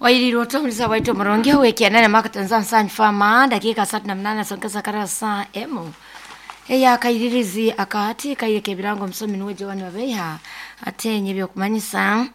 Waililo waito murungi wekianene makatanza nsanyu fama dakika 38 songeza karasa emu eya kairirizi akahati kaireka ebirango omusomi niwe Joan Babeiha atenye ebyokumanyisa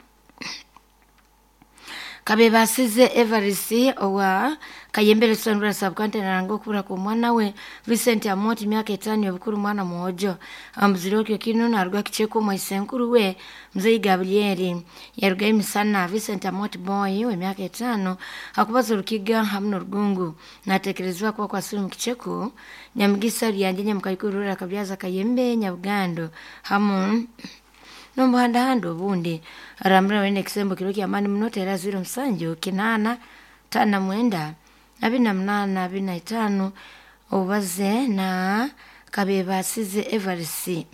kabebasize Everest owa Kayembere Sondra subcounty naranga okubura kw'omwana we Vincent Amoti, myaka 5 obukuru, mwana mwojo amuzire okyo kino naruga kicheko omwaisenkuru we Mzee Gabrieli yaruga emisana. Vincent Amoti boy w'emyaka 5 akubaza orukiga hamu n'orugungu, natekerezebwa kuba kwasire omu kicheko Nyamugisa Ryange Nyamukaikuru Kabyaza Kayembe Nyabugando hamu n'omuhandahanda obundi. Arambura wene ekisembo kiro kyamaani muno tera 07 8 59 28 25 obaze na kabebasize Everest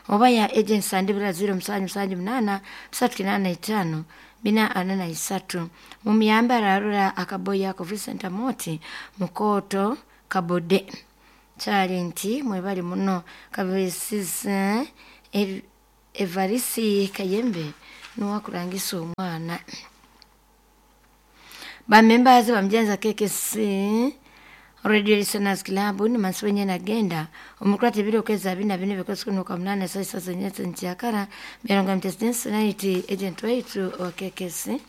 oba ya agency andibura 0 7 7 8 3 8 5 443 mumuyambe ararura akaboyi ako Vincent Amoti mukoto kabode kyali nti mwebali muno kabesize Evarisi Kayembe nuwakurangisa omwana. Bamembazi bamjenza KKC Radio Listeners Club ni mansi nagenda omukurata ebiro okwezi abiri na bine bikozi kumi kwa munana saa isa zenyete nkyakara mirongo mtesidensi agent waitu wa KKC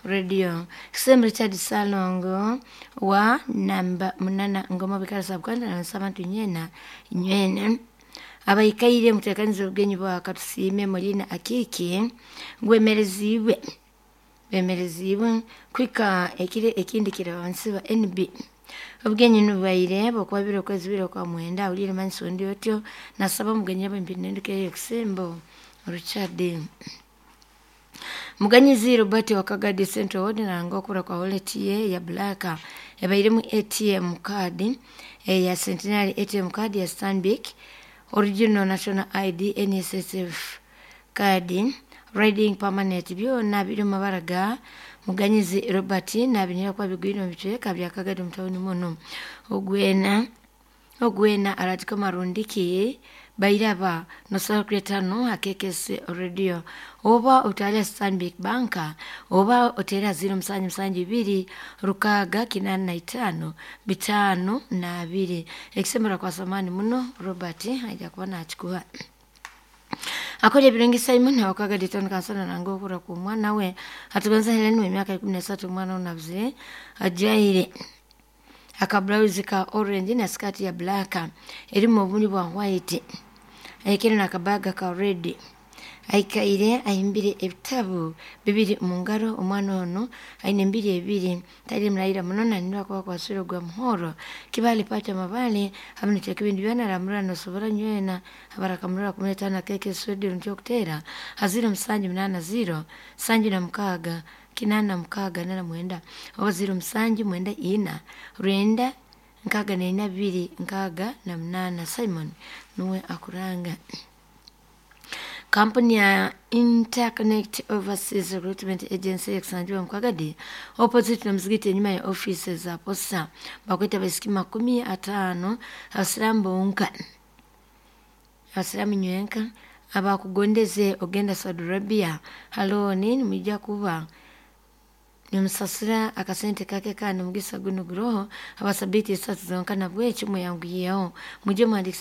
Radio Kisemu Richard Salongo wa namba 8 Ngoma bikara sabukanda na nsabantu nyena nywene abaikaire mutekanize obugenyi bwa Katusiime Molina Akiki gwemerezibwe bemerezibwe kwika ekire ekindi kirabansi ba NB obugenyi nubaire bokwabira okwezi biro kwa mwenda ulire mansi ondi otyo nasaba omugenyi abempinenduke ekusembo Richard Muganyizi Robert wa Kagadi Central Ward naranga okura kwa wallet ye ya black ebairemu ATM card ya Centenary ATM card ya Stanbic, original national ID, NSSF card, riding permanent byona biri mu mabara ga Muganyizi Robert nabinira kwa bigwino bitweka bya Kagadi mutawuni muno ogwena ogwena aratiko marundiki bairaba nosala kuretano akekese radio oba otale Stanbic Banka oba otera 0 7 7 2 6 8 5 52 ekisemera kwa samani muno Robert aja kuba nakikuha akola ebirungi. Simon awakaga ditano kansana nanga okura ku mwana we atugonza Helen w'emyaka 13. Omwana onabuzire ajaire akablauzi ka orange na skati ya black erimu obuni bwa white, aikire nakabaga ka red, aikaire ahimbire ebitabu bibiri mu ngaro. Omwana ono aine mbiri ebiri tali mulaira muno nanira kuba kwasire gwa muhoro kibali pata mabale hamwe nekibindi byona aramura nosobora nywena abarakamurora 15 keke swedi ntyo kutera haziro musanju 8 0 sanju na mukaga 8 6 8 9 oba 0 7 9 4 9 6 4 2 6 8. Simon nuwe akuranga. Kampuni ya Interconnect Overseas Recruitment Agency ekusangiwa Mukagadi opposite na mzigiti enyuma ya office za posta bakweta baisiki 50 abasiramu bonka abasiramu nywenka abakugondeze ogenda Saudi Arabia haloni nimwijja kuba nimusasira akasente kake kandi omugisa guno guroho abasabiti esatu zonka nabwekyo muyanguyeho mujye muhandikisa.